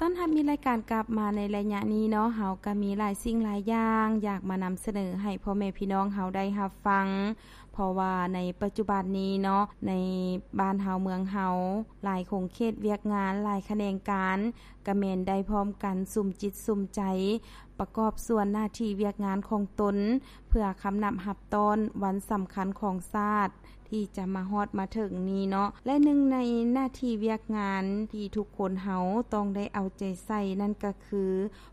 ຕ້ອນຮັບມີລາຍການກັບມາໃນໄລຍະນີ້ເນາະ, ເຮົາກໍມີຫຼາຍສິ່ງຫຼາຍຢ່າງຢາກມານຳສະເໜີໃຫ້ພໍ່ແມ່ພີ່ນ້ອງເຮົາໄດ້ຮັບຟັງ, ເພາະວ່າໃນປັດຈຸບັນນີ້ເນາະ ໃນບ້ານເຮົາເມືອງເຮົາ ຫຼາຍຂົງເຂດວຽກງານ ຫຼາຍຂະແໜງການ ກະແມ່ນໄດ້ພ້ອມກັນສຸມຈິດສຸມໃຈ ປະກອບສ່ວນໜ້າທີ່ວຽກງານຂອງຕົນ ເພື່ອຄຳນັບຮັບຕ້ອນວັນສຳຄັນຂອງຊາດ ທີ່ຈະມາຮອດມາເຖິງນີ້ເນາະ ແລະ ໜຶ່ງໃນໜ້າທີ່ວຽກງານທີ່ທຸກຄົນເຮົາຕ້ອງໄດ້ເອົາໃຈໃສ່ ນັ້ນກໍຄື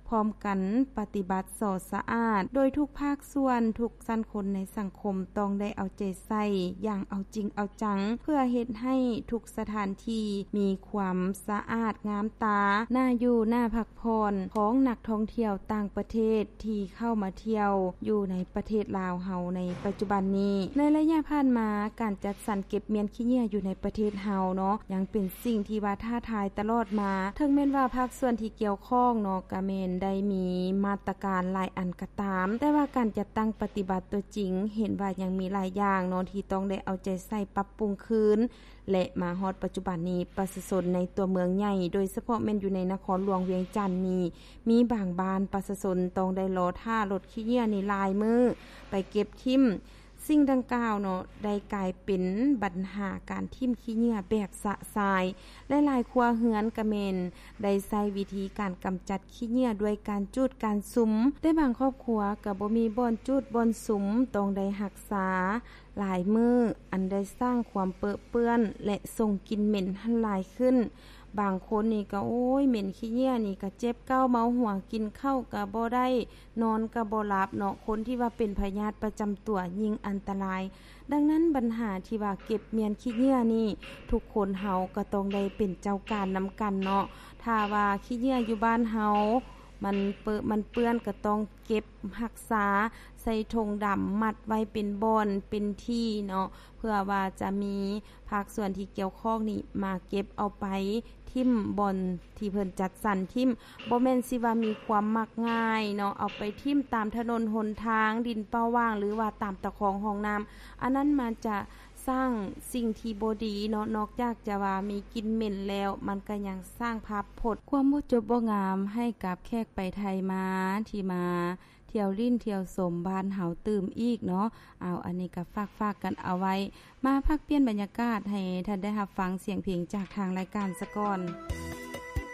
ພ້ອມກັນປະຕິບັດສໍສະອາດ ໂດຍທຸກພາກສ່ວນ ທຸກຊັ້ນຄົນໃນສັງຄົມຕ້ອງໄດ້ເອົາໃຈໃສ່ຢ່າງເອົາຈິງເອົາຈັງ ເພື່ອເຮັດໃຫ້ທຸກສະຖານທີ່ມີຄວາມສະອາດງາມຕາ ໜ້າຢູ່ ໜ້າພັກຜ່ອນຂອງນັກທ່ອງທ່ຽວຕ່າງປະເທດທີ່ເຂົ້າມາທ່ຽວຢູ່ໃນປະເທດລາວເຮົາໃນປັດຈຸບັນນີ້. ໃນໄລຍະຜ່ານມາ ການຈັດສັນເກັບມ້ຽນຂີ້ເຫຍື້ອຢູ່ໃນປະເທດເຮົາເນາະ ຍັງເປັນສິ່ງທີ່ວ່າທ້າທາຍຕະຫຼອດມາ. ເຖິງແມ່ນວ່າພາກສ່ວນທີ່ກ່ຽວຂ້ອງເນາະ ກະແມ່ນໄດ້ມີມາດຕະການຫຼາຍອັນກໍຕາມ, ແຕ່ວ່າການຈັດຕັ້ງປະຕິບັດຕົວຈິງ ເຫັນວ່າຍັງມີຫຼາຍຢ່າງເນາະ ທີ່ຕ້ອງໄດ້ເອົາໃຈໃສ່ປັບປຸງຄືນ ແລະ ມາຮອດປັດຈຸບັນນີ້ ປະຊາຊົນໃນຕົວເມືອງໃຫຍ່ ໂດຍສະເພາະແມ່ນຢູ່ໃນນະຄອນຫຼວງວຽງຈັນນີ້ ມີບາງບ້ານປະຊາຊົນຕ້ອງໄດ້ລໍຖ້າລົດຂີ້ເຫຍື້ອນີ້ຫຼາຍມື້ໄປເກັບຖິ້ມ. ສິ່ງດັ່ງກ່າວເນາະ ໄດ້ກາຍເປັນບັນຫາການຖິ້ມຂີ້ເຫຍື້ອແບບຊະຊາຍ ແລະ ຫຼາຍຄົວເຮືອນກະແມ່ນໄດ້ໃຊ້ວິທີການກຳຈັດຂີ້ເຫຍື້ອດ້ວຍການຈູດການສຸມ, ແຕ່ບາງຄອບຄົວກະບໍ່ມີບ່ອນຈູດບ່ອນສຸມ ຕ້ອງໄດ້ຮັກສາຫຼາຍມື້ ອັນໄດ້ສ້າງຄວາມເປິເປື້ອນ ແລະ ສົ່ງກິ່ນເໝັນຫັ້ນຫຼາຍຂຶ້ນ. ບາງຄົນນີ້ກະ ໂອ້ຍ ເໝັນຂີ້ເຫຍື້ອນີ້ກະເຈັບກ້າວເມົາຫົວ ກິນເຂົ້າກະບໍ່ໄດ້ ນອນກະບໍ່ຫຼັບເນາະ, ຄົນທີ່ວ່າເປັນພະຍາດປະຈຳຕົວຍິ່ງອັນຕະລາຍ. ດັ່ງນັ້ນບັນຫາທີ່ວ່າເກັບມ້ຽນຂີ້ເຫຍື້ອນີ້ ທຸກຄົນເຮົາກໍຕ້ອງໄດ້ເປັນເຈົ້າການນຳກັນເນາະ. ຖ້າວ່າຂີ້ເຫຍື້ອຢູ່ບ້ານເຮົາມັນເປິ ມັນເປື້ອນ ກໍຕ້ອງເກັບຮັກສາໃສ່ຖົງດຳ ມັດໄວ້ເປັນບ່ອນເປັນທີ່ເນາະ, ເພື່ອວ່າຈະມີພາກສ່ວນທີ່ກ່ຽວຂ້ອງນີ້ມາເກັບເອົາໄປຖິ້ມບ່ອນທີ່ເພິ່ນຈັດສັນຖິ້ມ. ບໍ່ແມ່ນຊິວ່າມີຄວາມມັກງ່າຍເນາະ ເອົາໄປຖິ້ມຕາມຖະໜົນຫົນທາງ ດິນເປົ່າຫວ່າງ ຫຼືວ່າຕາມຕະຄອງຮ່ອງນ້ຳ, ອັນນັ້ນມັນຈະສ້າງສິ່ງທີ່ບໍ່ດີເນາະ. ນອກຈາກຈະວ່າມີກິ່ນເໝັນແລ້ວ ມັນກໍຍັງສ້າງພາບພົດຄວາມບໍ່ຈົບບໍ່ງາມໃຫ້ກັບແຂກໄປໄທມາ ທີ່ມາທ່ຽວຫຼິ້ນທ່ຽວຊົມບ້ານເຮົາຕື່ມອີກເນາະ. ເອົາ ອັນນີ້ກໍຝາກໆກັນເອົາໄວ້. ມາພັກປ່ຽນບັນຍາກາດໃຫ້ທ່ານໄດ້ຮັບຟັງສຽງເພງຈາກທາງລາຍການສາກ່ອນ.